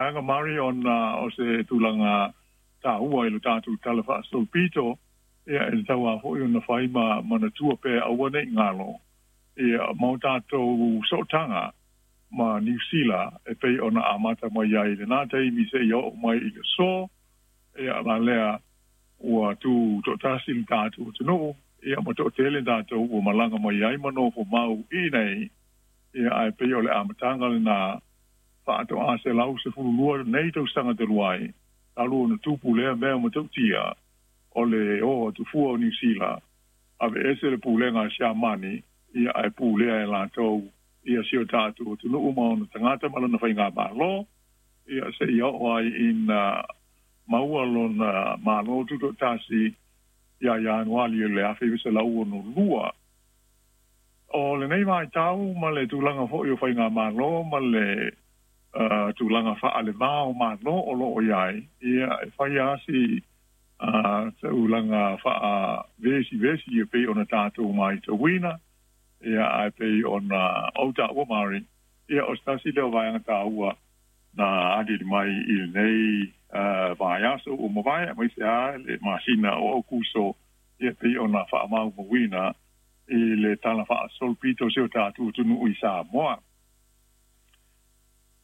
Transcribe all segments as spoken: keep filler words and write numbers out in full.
vaega Mari ona o se tulaga taua i lo tatou tala faasolopito, ia e tatau lava foi ona fai ma manatua pea aua nei galo ia ma o tatou sootaga ma Niu Sila e pei ona amata mai ai i lenā taimi seia oo mai i le aso. Ia la lea ua tutoatasi le tatou atunuu, ia ma toatele tatou ua malaga mai ai ma nofo mau i nei, ia ae pei o le amataga lenā faatoa selau sefululua nei tausaga talu ai talu ona tupu lea mea matautia o le o atu fua o Niu Sila aveese le pulega a Siamani, ia ae pulea e latou ia si o tatou atunuu ma ona tagata ma lona faigamalo, ia seia oo ai ina maua lona Malo Tutoatasi ia Ianuali o le afe iva selau ono lua. O lenei vaitau ma le tulaga foi o faigamalo ma le uh, tulaga faalevā o malo o loo i ai, ia e fai asi uh, tulaga faavesivesi e pei ona tatou matauina, ia ae pei ona ou taua Mari, ia o se tasi lea o vaega taua na aliali mai i lenei uh, vaiaso ua mavae aemaise lava le masina o Aokuso, ia pei ona faamaumauina i le tala faasolopito o si o tatou atunuu i Samoa.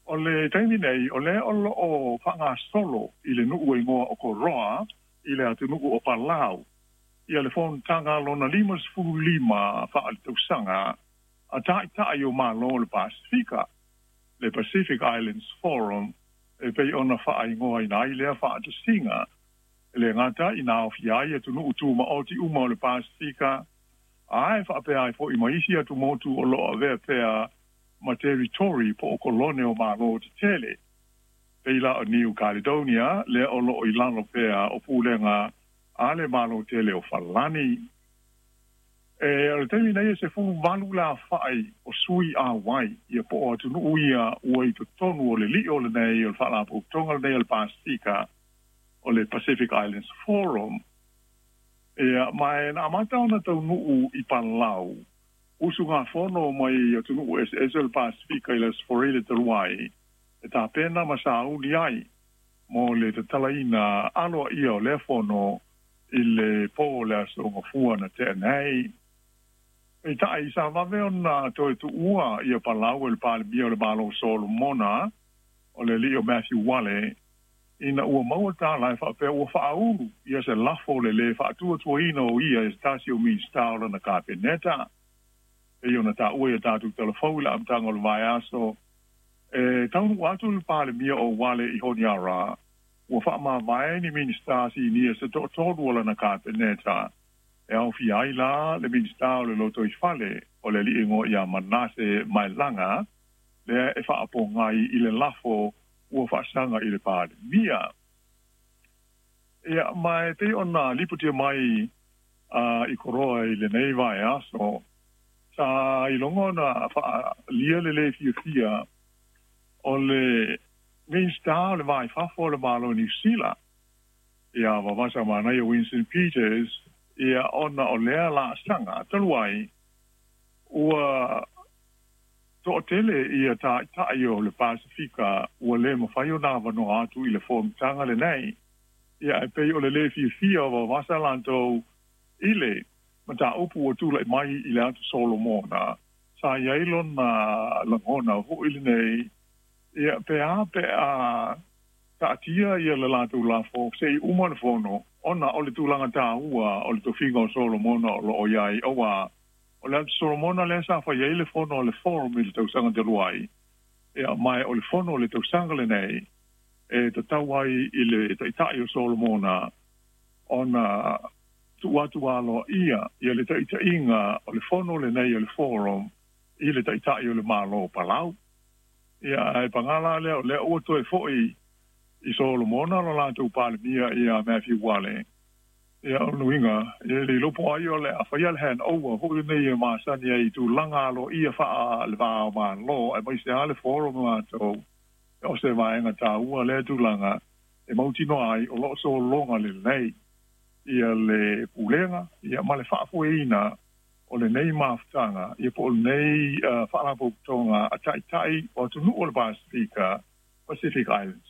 O le taimi nei, o lea o loo faagasolo i le nuu e igoa o Koroa i le atunuu o Palau ia le fonotaga lona lima sefulu lima faaletausaga a taitai o Malo o le Pasefika, le Pacific Islands Forum e pei ona faaigoaina ai lea faatasiga. E le gata ina aofia ai atunuu tumaoti uma o le Pasefika, ae faapea ai foi ma isi atumotu o loo avea pea ma territory po o kolone o Malo tetele, pei la o New Caledonia lea o loo i lalo pea o pulega a le Malo tele o Falani. E o le taimi nei e sefulu valu le aofai o sui auai, ia po o atunuu ia ua i totonu o le lio lenei o le Faalapotopotoga lenei o le Pasefika, o le Pacific Islands Forum. Ia ma e na amata ona taunuu i Palau usugafono mai atunuu eseese o le Pasefika i le Aso Faraile talu ai e tapena ma sauni ai mo le tatalaina aloaia o lea fono i le po o le aso Gafua na tea nei. Peitai, sa vave ona toe tuua ia Palau e le Palemia o le Malo o Solomona, o le alii o Matthew Wale, ina ua maua tala e faapea ua faaulu ia se lafo o le lē faatuatuaina o ia e se tasi o Minisita o lana Kapeneta. Pei ona taua i a tatou talafou i le amataga o le vaiaso, e taunuu atu le Palemia o Wale i Honiara, ua faamavae ni Minisita sinia se toatolu o lana Kapeneta, e aofia ai la le Minisita o le Lotoifale, o le alii igoa ia Manase Mailaga, lea e faapogai i le lafo ua faasaga i le Palemia. Ia ma e pei ona lipotia mai uh, i Koroa i lenei vaiaso, sa iloga ona faaalia le lē fiafia o le Minisita o le Va i Fafo o le Malo o Niu Sila ia Vavasa Manaia Winston Peters, ia ona o lea laasaga talu ai ua toatele ia taitai o le Pasefika ua lē mafai ona avanoa atu i le fonotaga lenei. Ia e pei o le lē fiafia o Vavasa latou i le mataupu ua tulai mai i le atu Solomona, sa i ai lona lagona foi lenei, ia pe a pe a taatia ia le latou lafo seia uma le fono, ona o le tulaga taua o le tofiga o Solomona o loo i ai, auā o le atu Solomona lea sa fai ai le fono a le Forum i le tausaga talu ai, ia ma o le fono o le tausaga lenei e tatau ai i le taitai o Solomona ona tuu atu aloaia ia le taitaiga o le fono lenei o le Forum i le taitai o le Malo o Palau. Ia ae pagā la lea o lea ua toe foi i Solomona lo latou Palemia ia Matthew Wale. Ia o lona uiga, e le iloa po o ai o le a faia le handover foi lenei e masani ai i tulaga aloaia faa-le va o Malo aemaise lava le Forum latou, o se vaega taua lea tulaga e mautinoa ai o loo sologa lelei ia le pulega ia ma le faafoeina o lenei mafutaga, ia po o lenei uh, faalapotopotoga a taitai o atunuu o le Pasefika, Pacific Islands.